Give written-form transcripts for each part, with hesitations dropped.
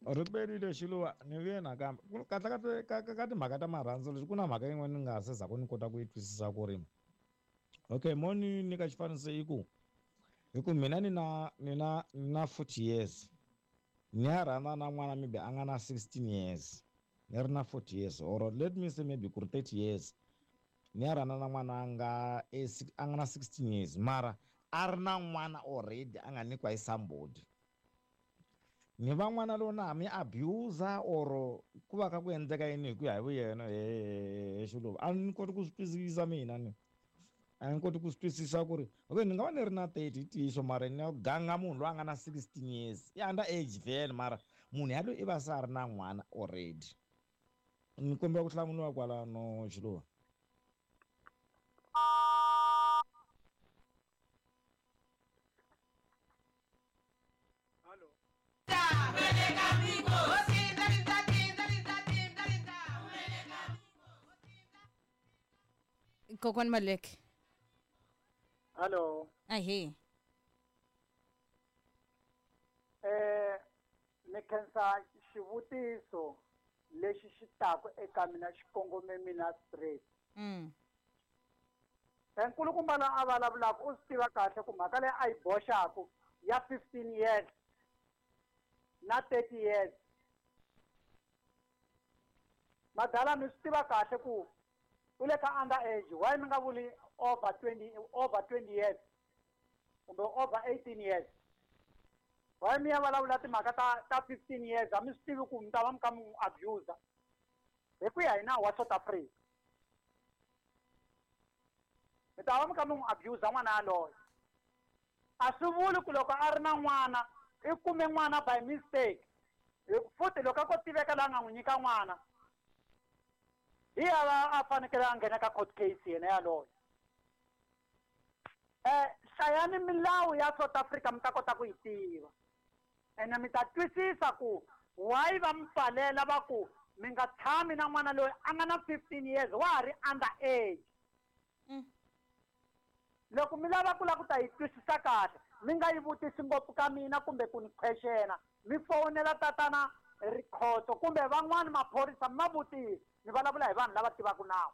Riperile Xiluva ni vuye nakambe kahle kahle ka timhaka ta marhandzu leswi ku na mhaka yin'wana ni nga ha se za ku ni kota ku yi twisisa ku ri okay mo ni nyika xifaniso i ku hi ku mina ni na 40 years, ni ya rhandza na n'wana maybe a nga na 16 years, ni ri na 40 years, or let me say maybe ku ri 30 years, ni ya rhandza na n'wana a nga na 16 years, mara a ri na n'wana already a nga nyikiwa hi somebody. Ni va n'wana lowu na ha mi abuse or ku va ka ku endleka yini hi ku ya hi vuyena he Xiluva? A ni koti ku swi twisisa mina, ni a ni koti ku swi twisisa ku ri okay, ni nga va ni ri na 30 i ntiyiso, mara ni ya ganga munhu loyi a nga na 16 years, i under age vhele, mara munhu yaloyi i va se a ri na n'wana already. Ni kombela ku hlamuriwa kwalano, Xiluva. Hallo. Kokwani Maluleke. Hallo. Ahee. Ni khensa xivutiso lexi xi taku eka mina, xi kongome mina straight. Nkulukumba loyi a vulavulaka u swi tiva kahle ku mhaka leyi a yi boxaku ya 15 years na 30 years, madala, mi swi tiva kahle ku u le ka under age. Why mi nga vuli over 20, over 20 years kumbe over 18 years? Why mi ya vulavula timhaka ta 15 years? A mi swi tivi ku mi ta va mi ka mi n'wi abuse hi ku ya hi nawu wa South Africa? Mi ta va mi ka mi n'wi abuse n'wana yaloye. A swi vuli ku loko a ri na n'wana, i kume n'wana by mistake. Futhi loko a ko tiveka laha nga n'wi nyika n'wana, hi ya va a fanekele a nghena ka court case yena yaloye. Hlayani milawu ya South Africa, mi ta kota ku yi tiva, ene mi ta twisisa ku why va mi pfalela, va ku mi nga tshami na n'wana loyi a nga na 15 years, wa ha ri under age. Loko mi lava ku lava ku ta yi twisisa kahle, mi nga yi vutisi ngopfu ka mina kumbe ku ni questiona. Mi fowunela tatana Rikhotso kumbe van'wani maphorisa, mi ma vutisi. Mi vulavula hi vanhu lava tivaka nawu,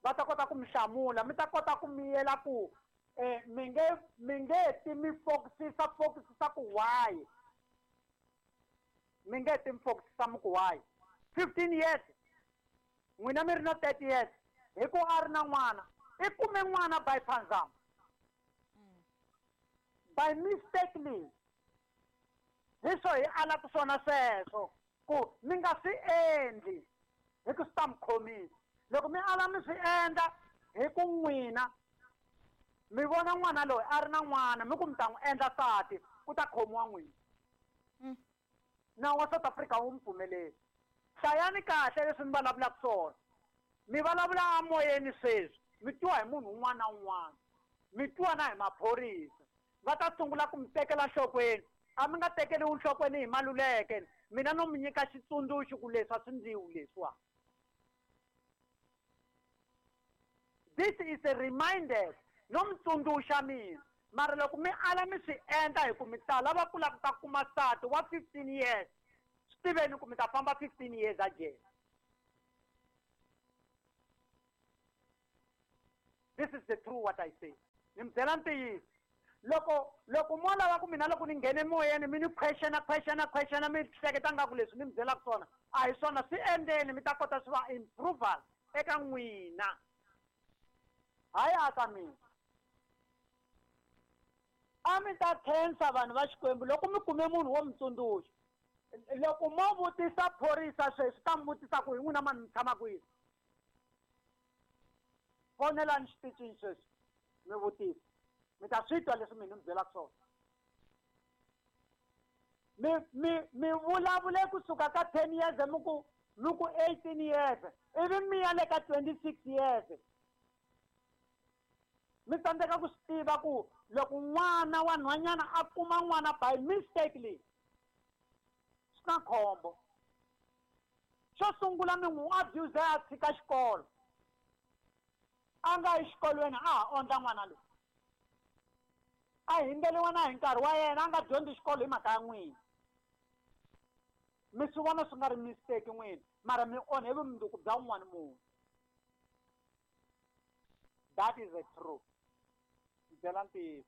va ta kota ku mi hlamula, mi ta kota ku miyela ku mi nge ti mi focusisa focusisa ku why mi nge ti mi focusisa mi ku why 15 years, n'wina mi ri na 30 years, hi ku a ri na n'wana, i kume n'wana by panzam, by mistakenly. Hi swo hi alaka swona sweswo ku mi nga swi endli, hi ku swi ta mi khomisa loko mi ala mi swi endla, hi ku n'wina mi vona n'wana loyi a ri na n'wana, mi ku mi ta n'wi endla nsati, ku ta khomiwa n'wina. Nawu wa South Africa wu mi pfumeleli. Hlayani kahle leswi mi vulavulaka swona. Mi vulavula amoyeni sweswi, mi twiwa hi munhu un'wana na un'wana, mi twiwa na hi maphorisa, va ta sungula ku mi tekela nhlokweni. A mi nga tekeriwi nhlokweni hi Maluleke. Mina no mi nyika xitsundzuxo ku leswi a swi ndliwi leswiwa. This is a reminder, no mi tsundzuxa mina. Mara loko mi ala mi swi endla, hi ku mi ta lava ku lava ku ta kuma nsati wa 15 years, swi tiveni ku mi ta famba 15 years a jele. This is the true what I say. Ni mi byela ntiyiso. Loko mo lava ku mina loko ni nghene moyeni mi ni questiona, questiona, questiona, mi hleketa nga ku leswi ni mi byelaka swona a hi swona, swi endleni, mi ta kota swi va improval eka n'wina, hayi aka mina. A mi ta khensa vanhu va Xikwembu loko mi kume munhu wo mi tsundzuxa. Loko mo vutisa phorisa sweswi, ta mi vutisa ku hi n'wina mani, mi tshama kwini? Fonelani xitichini sweswi mi vutisa, mi ta swi twa leswi mina mi byelaka swona. Mi vulavule kusuka ka 10 years, mi ku 18 years, ivi mi ya le ka 26 years. Mi tsandzeka ku swi tiva ku loko n'wana wa nhwanyana a kuma n'wana by mistakenly, swi na khombo. Xo sungula, mi n'wi abuse a tshika xikolo, a nga yi xikolweni, a ha ondla n'wana loyi, a hindeliwa na hi nkarhi wa yena, a nga dyondzi xikolo hi mhaka ya n'wina. Mi swi vona swi nga ri mistake n'wina, mara mi onhe vumundzuku bya un'wana munhu. That is a truth. Ni byela ntiyiso.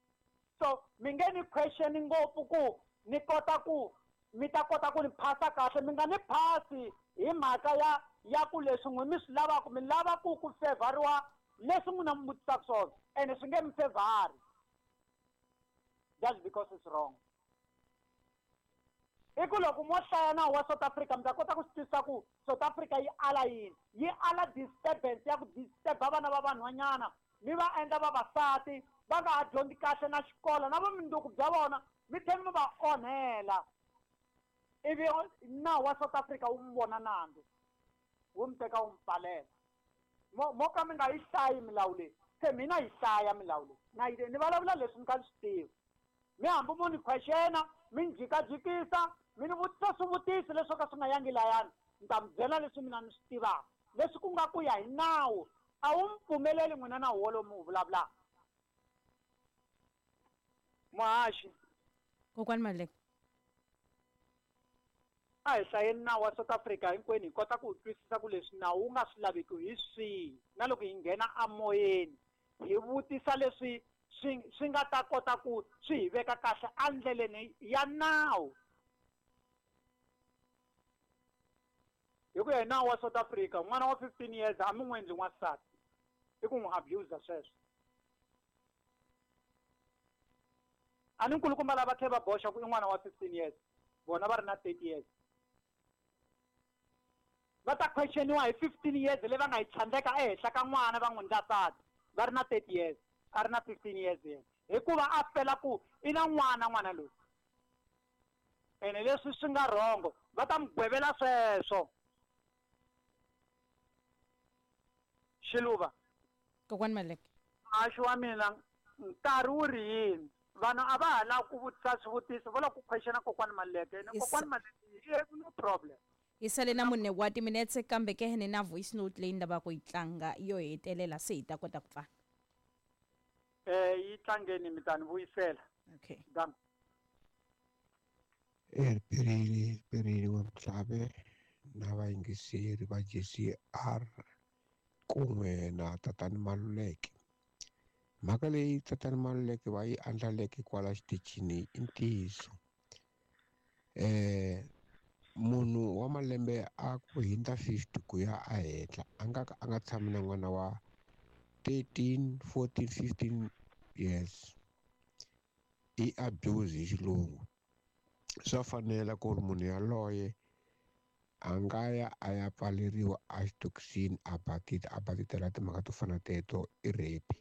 So mi nge ni question ngopfu ku ni kota ku mi ta kota ku ni phasa kahle, mi nga ni phasi hi mhaka ya ku leswi n'wi mi swi lavaka, mi lava ku favoriwa leswi n'wina mi vutisaka swona, ene swi nge mi favori just because it's wrong. I ku loko mo hlaya nawu wa South Africa mi ta kota ku swi twisisa ku South Africa yi ala yini, yi ala disturbance ya ku disturba vana va vanhwanyana, mi va endla vavasati va nga ha dyondzi kahle na xikolo na vumundzuku bya vona mi tlhela mi va onhela. Ivi nawu wa South Africa wu mi vona nandzu, wu mi teka wu mi pfalela. Mo ka mi nga yi hlayi milawu leyi, se mina yi hlaya milawu leyi na yi ni vulavula leswi ni kha ni swi tiva. Mi hambi mo ni questiona, mi ni jikajikisa, mi ni vutisa swivutiso leswi ka swi nga yangi layani, ni ta mi byela leswi mina ni swi tivaka, leswi ku nga ku ya hi nawu. A wu mi pfumeleli n'wina nawu wolowo mi wu vulavulaka. Muhaxi. Kokwani Maluleke. A hi hlayeni nawu wa South Africa hinkwenu hi kota ku twisisa ku leswi nawu wu nga swi laveki hi swihi, na loko hi nghena amoyeni hi vutisa leswi swi nga ta kota ku swi hi veka kahle endleleni ya nawu. Hi ku ya hi nawu wa South Africa, n'wana wa 15 years a mi n'wi endli n'wansati, i ku n'wi abuse sweswo. A ni nkulukumba lava tlhela va boxa ku i n'wana wa 15 years, vona va ri na 30 years. Va ta questioniwa hi 15 years leyi va nga yi tshandleka ehenhla ka n'wana va n'wi endla nsati, va ri na 30 years, a ri na 15 years yena, hikuva a fela ku i na n'wana n'wana loyi. Ene leswi swi nga rhongo va ta mi gwevela sweswo. Xiluva. Kokwani Maluleke. Muhaxi wa mina, nkarhi wu ri yini? Vanhu a va ha lavi ku vutisa swivutiso, va lava ku questiona Kokwani Maluleke. Ene Kokwani Maluleke, no problem. Hi sale na mune wa timinetse, kambe ke ni na voice note leyi ni lavaka ku yi tlanga yo hetelela se hi ta kota ku pfala. Yi tlangeni mi ta ni vuyisela. Okay. Done. Riperile wa Mhlave na vayingiseri va JCR kun'we na Tatana Maluleke. Mhaka leyi Tatana Maluleke va yi andlaleke kwala xitichini i ntiyiso. Munhu wa malembe a ku hundza 50 ku ya ehenhla a nga ka a nga tshami na n'wana wa 13, 14, 15 years. I abuse hi xilungu. Swa fanela ku ri munhu yaloye a nga ya a ya pfaleriwa exitokisini a batita, a batitela timhaka to fana teto, i rape,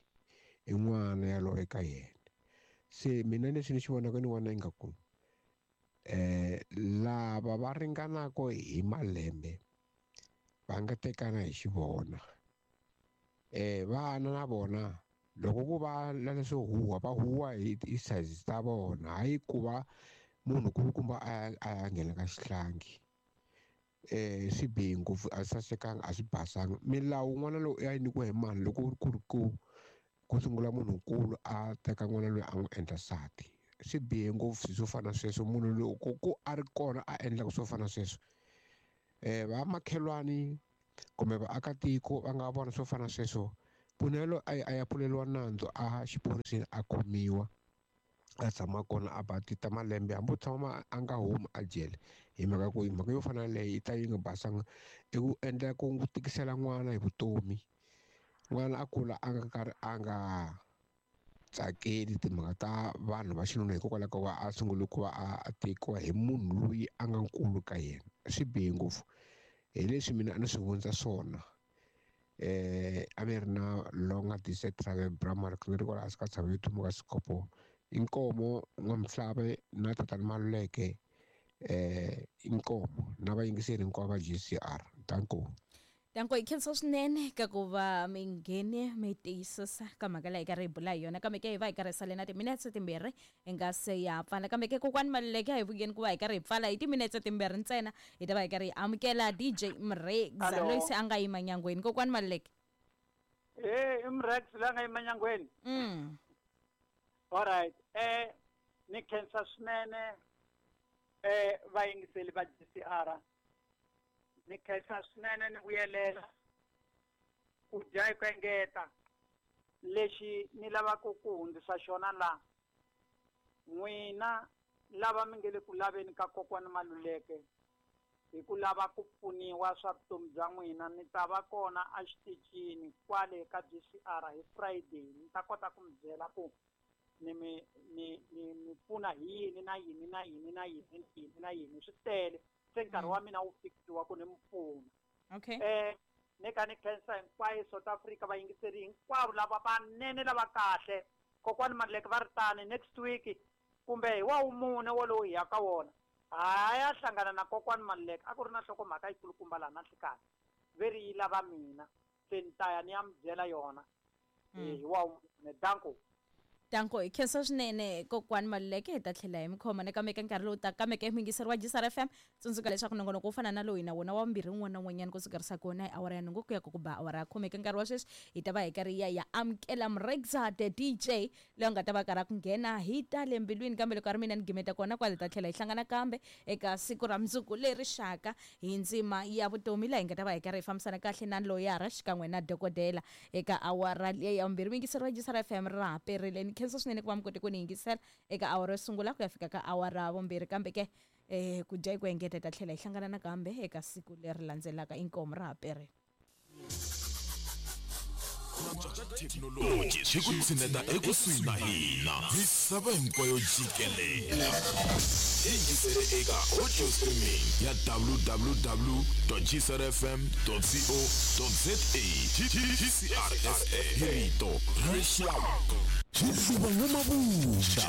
i n'wana yaloye ka yena. Se mina leswi ni swi vonaka ni vona ingaku lava va ringanaka hi malembe va nga tekana hi xivona. Vana na vona loko ku va na leswo huwa, va huwa hi ti-size ta vona, hayi ku va munhu kulukumba a ya nghena ka xihlangi. Swi bihe ngopfu, a swi sasekanga, a swi basanga. Milawu n'wana lowu ya nyikiwa hi mani loko ku ri ku sungula munhunkulu a teka n'wana loyi a n'wi endla nsati? Swi bihe ngopfu swilo swo fana na sweswo. Munhu loko ku a ri kona a endlaka swo fana na sweswo, vamakhelwani kumbe vaakatiko va nga vona swo fana na sweswo, munhu yaloye a ya pfuleriwa nandzu a xiphoriseni, a khomiwa, a tshama kona a batita malembe, hambi u tshama a nga humi a jele. Hi mhaka ku mhaka yo fana na leyi yi ta yi nga basanga, i ku endla ku tikisela n'wana hi vutomi. N'wana a kula a nga karhi a nga tsakeli timhaka ta vanhu va xinuna, hikokwalaho ka ku va a sungule ku va a tekiwa hi munhu loyi a nga nkulu ka yena. Swi bihe ngopfu. Hi leswi mina a ni swi vundza swona. A mi ri na Longa Dise Travel Bramar, ni ri kwala hansi ka tshava yo tumuka Sikopo. Inkomo N'wamhlave na Tatana Maluleke, inkomo na vayingiseri hinkwavo va JCR. Danko. Danko, hi khensa swinene ka ku va mi nghene mi tiyisisa ka mhaka leyi hi karhi hi bula hi yona, kambe ke hi va hi karhi hi sale na timinetse timbirhi hi nga se ya pfala. Kambe ke Kokwani Maluleke, a hi vuyeni ku va hi karhi hi pfala hi timinetse timbirhi ntsena, hi ta va hi karhi hi amukela DJ Mrex loyi se a nga yima nyangweni. Kokwani Maluleke. I Mrex loyi a nga yima nyangweni. All right. Ni khensa swinene. Vayingiseli va GCR ni khensa swinene ni vuyelela ku dya hi ku engeta lexi ni lavaka ku hundzisa xona laha n'wina lava mi nge le ku laveni ka kokwani Maluleke hi ku lava ku pfuniwa swa vutomi bya n'wina ni ta va kona exitichini kwale ka GCR hi Friday ni ta kota ku mi byela ku ni mi ni ni mi pfuna hi yini na yini na yini na yini na yini na yini swi tele se nkarhi wa mina wu fikisiwa ku ni mi pfuna. Okay. Ni ka ni khensa hinkwayo South Africa vayingiseri hinkwavo lava vanene lava kahle kokwani Maluleke va ri tani next week kumbe hi wa wumune wolowo hi ya ka wona haya hlangana na kokwani Maluleke a ku ri na nhlokomhaka yikulukumba laha na nhlikani ve ri yi lava mina se ni ta ya ni ya mi byela yona hi wa wumune. Danko. Danko, hi khensa swinene kokwani Maluleke hi ta tlhela hi mi khoma nakambe ka nkarhi lowu taka kambe ke muyingiseri wa GCR FM tsundzuka leswaku nongonoko wo fana na lowu hi na wona wa vumbirhi wun'wana na wun'wanyana ku sukerisa kona hi awara ya nhungu ku ya ku ba awara ya khume. Eka nkarhi wa sweswi hi ta va hi karhi ya amukela Mrexa the DJ loyi a nga ta va karhi a ku nghena hi ta le mbilwini kambe loko a ri mina ni gimeta kona kwale ta tlhela hi hlangana kambe eka siku ra mundzuku leri xaka hi ndzima ya vutomi laha hi nga ta va hi karhi hi fambisana kahle na loyara xikan'we na dokodela eka awara leyi ya vumbirhi. Muyingiseri wa GCR FM ra ha perile ni khensa swinene ku va mi kote ku ni yingisela eka awara yo sungula ku ya fika ka awara ya vumbirhi kambe ke ku dya hi ku engeta hi ta tlhela hi hlangana nakambe eka siku leri landzelaka. Inkomu ra ha perile. Thekinoloji swi ku tshineta ekusuhi na hina misava hinkwayo jikelela. Yingisele eka audio streaming ya www.gcrfm.co.za. GCR SA hi rito ra rixaka. Xiluva n'wamavunda.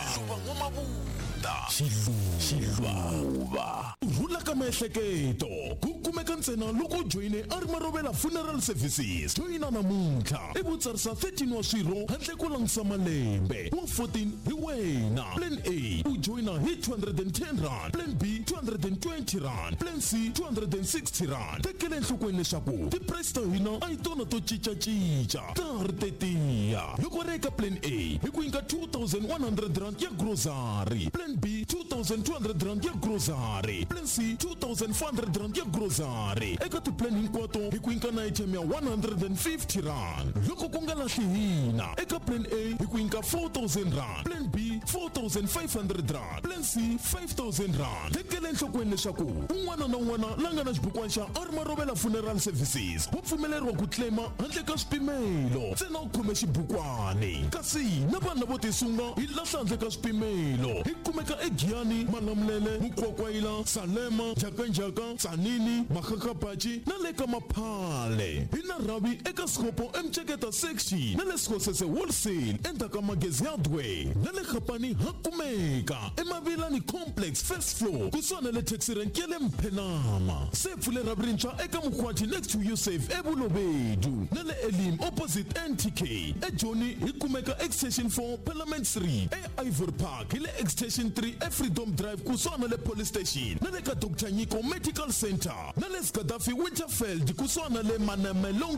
Xiluva. Rhula ka miehleketo ku kumeka ntsena loko u joyine a ri Marovela Funeral Services. Joyina namuntlha i vutsarisa 13 wa swirho handle ko langutisa malembe wa 14 hi wena. Plan A u joyina hi 210 rand, Plan B 220 rand, Plan C 260 rand. Tekela enhlokweni leswaku ti-price ta hina a hi tona to cincacinca ta ha ri tetiya. Loko ri eka Plan A hi ku nyika 2100 rand ya grocery, Plan B 2200 rand ya grocery, Plan C 2400 rand ya grocery. Eka ti-plan hinkwato hi ku nyika na item ya 150 rand. Loko ku nga lahli hina eka Plan A hi ku nyika 4000 rand, Plan B 4500 rand, Plan C 5000 rand. Tekela enhlokweni leswaku un'wana na un'wana la nga na xibukwana xa a ri Marovela Funeral Services wa pfumeleriwa ku claima handle ka swipimelo ntsena u khome xibukwani. Kasi na vanhu lavo tisunga hi lahla handle ka swipimelo. Hi kumeka eGiyani, Malamulele, Mukwakwayila, Salema, Njhakanjhaka, Tzaneen, Makgakgabatji na le ka Maphale. Hi na rhavi eka Sikopo eMceketa section na le Sekgosese Wholesale endzhaku ka Magezi Hardware na le Gapani ha kumeka eMavilani Complex first floor kusuhana le taxi rank ya le Mphenama. Se pfule rhavi rintshwa eka Mkhwati next to Usave eBulobedu na le Elim opposite NTK. eJoni hi kumeka Extension 4 Parliament Street, eIvory Park hi le Extension 3 eFreedom Drive kusuhana le Police Station na le ka Dr Nyiko Medical Center na le Gaddafi Winterfeld kusuhana le Manamelong.